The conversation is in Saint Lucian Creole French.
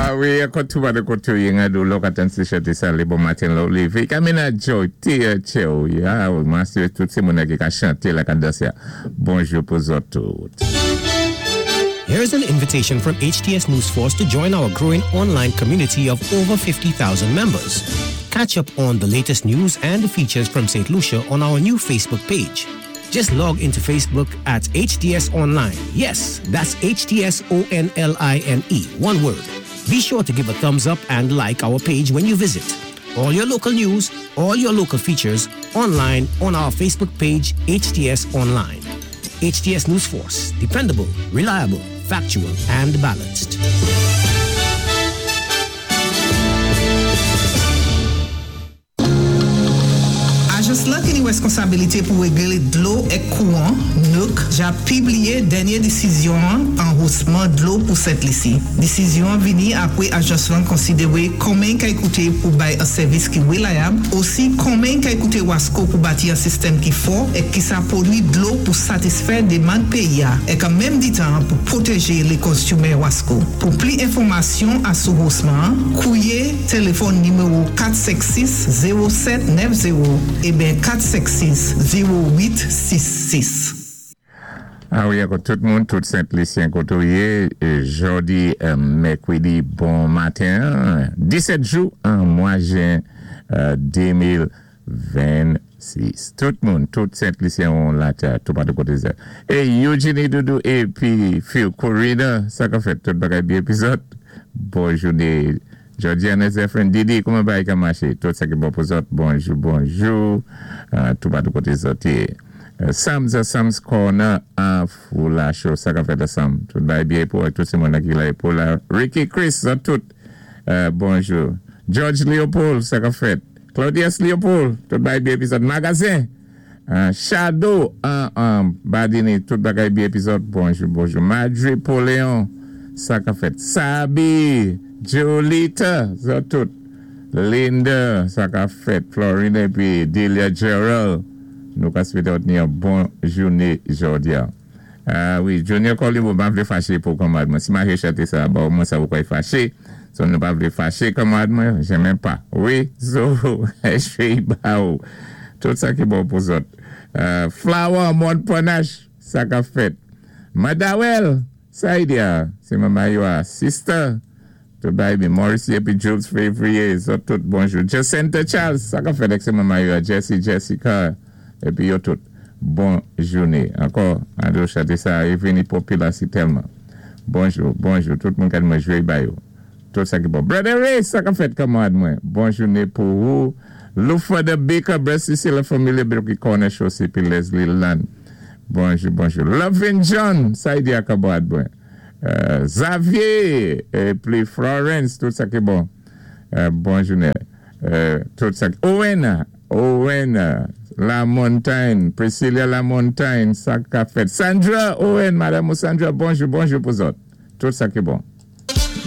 A wi, ankò tou ba de koté ou yé ngado lè ou ka tann ti chanté sa lé bon maten lè ou lévé. Ka mennen djòy té tchè ou yé. A wi, mwen asiré tout sé moun la ki ka chanté la ka dansé a. Bonjou pou zòt tout. Here's an invitation from HTS News Force to join our growing online community of over 50,000 members. Catch up on the latest news and features from St. Lucia on our new Facebook page. Just log into Facebook at HTS Online. Yes, that's H T S O N L I N E, one word. Be sure to give a thumbs up and like our page when you visit. All your local news, all your local features, online on our Facebook page, HTS Online. HTS News Force, dependable, reliable, factual, and balanced. Ajans lan ki ni reskonsabilite pou regle dlo ek kouwan, NERC, ja pibliye dènye disizyon an an hosman dlo pou Sent Lisi. Disizyon an vini apwe ajans lan konsidewe konmen kay koute pou bay an sèvis ki relayab, osi konmen kay koute WASCO pou bati an sistèm ki fò ek ki sa pwodwi dlo pou satisfè demand peyi a ek an menm ditan pou pwoteje le konsyumè WASCO. Pou pli enfòmasyon asou hosman an, kouye. Telefòn nimewo 456 07 90 eben 456 08 66. A wi ankò tout moun, tout Sent Lisyen kote ou ye, jodi mèkredi bon maten 17 jou an mwa jen 2026. Tout moun, tout Sent Lisyen ou latè toupatou kote zè. E Eugenie Doudou epi Phil Corina sa kap fèt tout bagay byen epi zòt bon joune Georgiana Zephyrin Didi kouman bagay ka mache tout sa ki bon pou zòt bonjou bonjou toupatou kote zòt ye Sam's Sam's Corner an Foulacho sa kap fèt ansanm tout bagay byen epi wè tout se moun nan ki la epi la Ricky Chris zòt tout bonjou George Leopold sa kap fèt Claudius Leopold tout bagay byen epi zòt Magazen Shadow an an Badini tout bagay byen epizòd bonjou bonjou Madri Poleon sa kap fèt Sabi Jolita zòt tout Linda sa kap fèt Florina epi Delia Gerald nou ka swete òtni yon bon joune jòdia. Ah wi Junior Colimo m pa vle fache pou kanmarad mwen si mache chante sa ba ou mwen sa ou kwè fache so nou pa vle fache kanmarad mwen jenmen pa wi so cheri ba ou tout sa ki bon pou zòt Flower mòn panache sa kap fèt Madawèl sa ide a se manman yo a sister Tout bagay byen. Morrissey epi Jules Fevrier zòt tout bonjou. Jacintha Charles sa kap fèt ak se manman yo a Jesse Jessica epi yo tout bon joune ankò Ado chante sa e vini popila si tèlman bonjou bonjou tout moun kad mwen jwe ba yo tout sa ki bon Brother Ray sa kap fèt kanmarad mwen bon joune pou ou Loufa the Baker Brother Cecile la familia Bilky Corner Chose epi Leslie Land bonjou bonjou Lovin John sa y di a kanmarad mwen. Xavier epi Florence tout sa ki bon bon jounen tout sa ki Owen Owen Lamontagne Priscilla Lamontagne sa kap fèt Sandra Owen madame ou Sandra bonjou bonjou pou zòt tout sa ki bon.